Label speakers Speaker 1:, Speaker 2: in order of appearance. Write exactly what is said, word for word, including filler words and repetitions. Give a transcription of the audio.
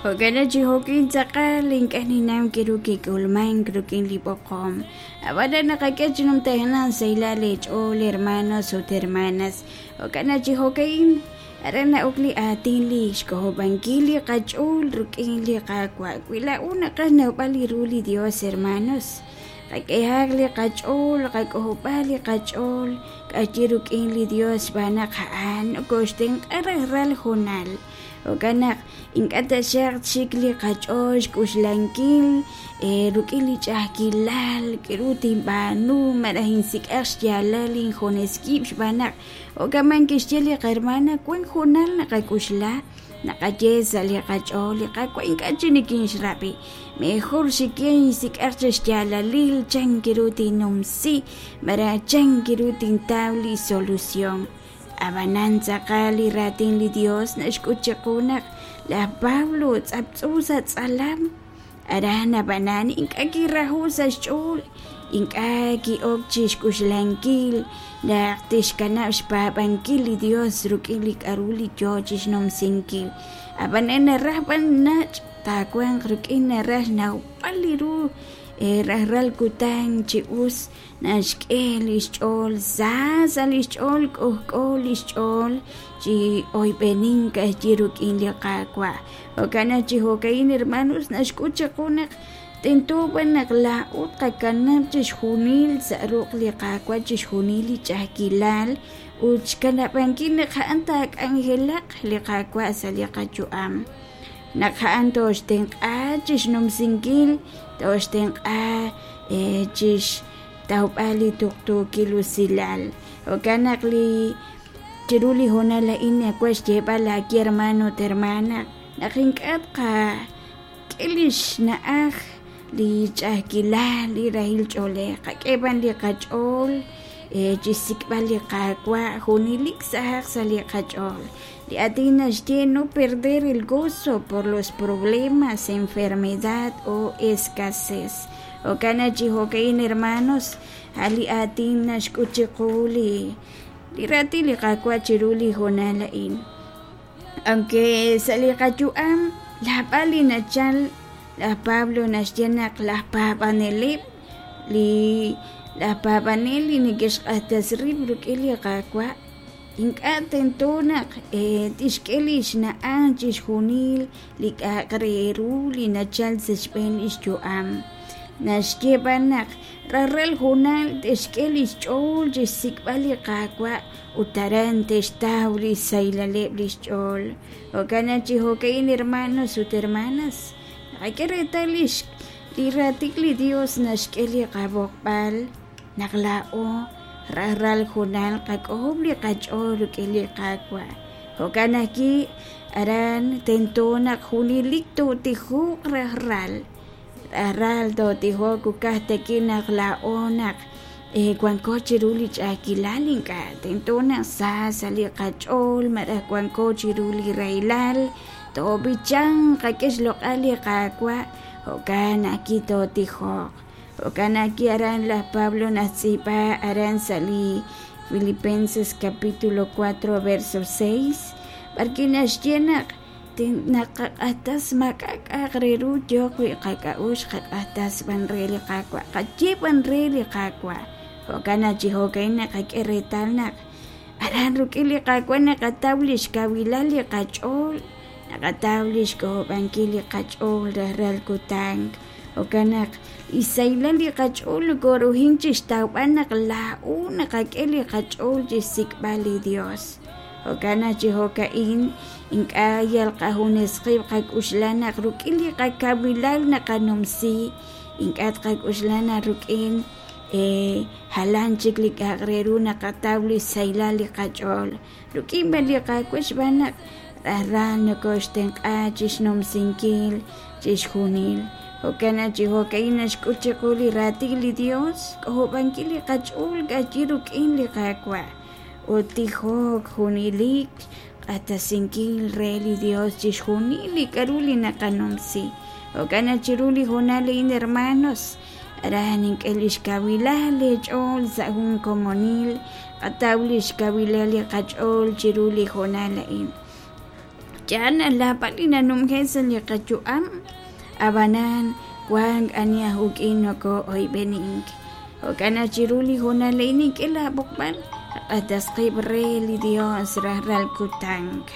Speaker 1: Jo'kan chi jo'kin tz'aqal ink'a' ninnaw k'aru kik'ulmank rik'in li b'oqom. Ab'anan naqak'e chi numtajenaq sahilal eech'ool hermanos ut hermanas. Jo'kan chi jo'ka'in aran na'ok li aatin li xk'ojob'ankil li qach'ool rik'in li Qaawa'. Wi laa'o naqaj xnawb'al li ru li Dios hermanos, qak'ehaq li qach'ool, qak'ojob'a li qach'ool k'ayi rik'in li Dios xb'aan naq a'an nokoxtenq'a rajlal hoonal. Jo'kan naq ink'a' taxaq chik li qach'ool xk'uxlankil rik'in li ch'a'ajkilal k'aru tinb'aanu malaj insik'aq xyaalal injunes wib' xb'aan naq jo'kan kixye li qahermana wank hoonal naqak'uxla naqaye sa' li qach'ool li Qaawa' ink'a' chik nikinxrab'i mejor xik'e insik'aq chi xyaalalil chan ru tinnumsi malaj chan ru tintaw li solución. Ab'anan tz'aqal li raatin li Dios naxk'ut chiqu naq laj Pablo tz'aptz'u sa' tz'alam aran ab'anan ink'a' kiraju sa' xch'ool ink'a' ki'ok chi xk'uxlankil naq tixkanab' xpaab'ankil li Dios rik'in li k'aru li yoo chi xnumsinkil. Ab'anan naraj b'an nach' taawanq rik'in naraj xnawb'al li ru rajlal kutan chi us naxk'e li xch'ool sa sa' li xch'ool k'ojk'o li xch'ool chi oyb'enink k'ayi rik'in li Qaawa'. Jo'kan naq chi jo'ka'in hermanos naxk'ut chiqu naq tento b'an naq laa'o tqakanab' chixjunil sa' ruq' li Qaawa' chixjunil li ch'a'ajkilal ut xkanab'ankil naq a'an taak'anjelaq li Qaawa' sa' li qayu'am. Naq a'an toxtenq'a chixnumsinkil toxtenq'a chixtawb'al li tuqtuukil usilal. Jo'kan naq li chiru li hoonal a'in nawaj xyeeb'al aawe hermano ut hermana naq ink'a' tqak'e li xna'aj li ch'a'ajkilal li rahil ch'oolej qak'e b'an li qach'ool chixsik'b'al li Qaawa' junelik sahaq sa' li qach'ool. Li aatin naxye no perder el gozo por los problemas, enfermedad o escasez. Jo'kan naq chi jo'ka'in hermanos a' li aatin naxk'ut chiqu li li raatin li Qaawa' chiru li hoonal a'in. Aunque sa' li qayu'am laab'al li nachal laj Pablo naxye naq laj paab'aneleb' li laj paab'anel li neke'xq'ajtas rib' rik'in li Qaawa' ink'a' tento naq tixk'e li xna'aj chixjunil li k'a'aq re ru li nachal sa' xb'een li xyu'am. Naxye b'an naq rajlal hoonal te'xk'e li xch'ool chixsik'b'al li Qaawa' ut aran te'xtaw li xsahilaleb' li xch'ool. Jo'kan naq chi jo'ka'in hermanos ut hermanas naqak'e reetal li li raatin li Dios naxk'e li qab'oqb'al naq laa'o rajlal hoonal qak'ojob' li qach'ool rik'in li Qaawa'. Jo'kan ajwi' aran tento naq junelik tootijoq rajlal rajlal tootijoq ukaj taki naq laa'o naq wanko chiru li ch'a'ajkilal ink'a' tento naq sa sa' li qach'ool malaj wanko chiru li rahilal toob'ichanq qak'e xloq'al li Qaawa' jo'kan ajwi' tootijoq. Jo'kan ajwi' aran laj Pablo naxtz'iib'a aran sa' li Filipenses capítulo cuatro verso seis b'arwi' naxye naq naqaq'ajtas maak'a' k'a'aq re ru yooq wi' qak'a'uxl qaq'ajtas b'an re li Qaawa' qaye b'an re li Qaawa'. Jo'kan naq chi jo'ka'in naqak'e reetal naq aran rik'in li Qaawa' naqataw li xkawilal li qach'ool naqataw li xk'ojob'ankil li qach'ool rajlal kutan. Jo'kan naq li xsahilal li qach'ool nokoruhin chixtawb'al naq laa'o naqak'e li qach'ool chixsik'b'al li Dios. Jo'kan naq chi jo'ka'in ink'a' yal qajunes qib' qak'uxla naq rik'in li qakawilal naqanumsi ink'a' tqak'uxla naq rik'in jalan chik li k'a'aq re ru naqataw li xsahilal li qach'ool. Rik'in b'an li Qaawa' xb'aan naq rajlal nokoxtenq'a chixnumsinkil chixjunil. Jo'kan naq chi jo'ka'in naxk'ut chiqu li raatin li Dios k'ojob'ankil li qach'ool k'ayi rik'in li Qaawa' ut tijok junelik q'axtesinkil re li Dios chixjunil li k'aru li naqanumsi. Jo'kan naq chiru li hoonal a'in hermanos aran ink'e li xkawilal eech'ool sa' jun komonil qataw li xkawilal li qach'ool chiru li hoonal a'in. Yaal naq naab'al li nanumje' sa' li qayu'am, ab'anan wank ani aj uk'in nokoo'oyb'enink. Jo'kan naq chiru li hoonal a'in nink'e laab'oqb'al q'atas qib' re li Dios rajlal kutan.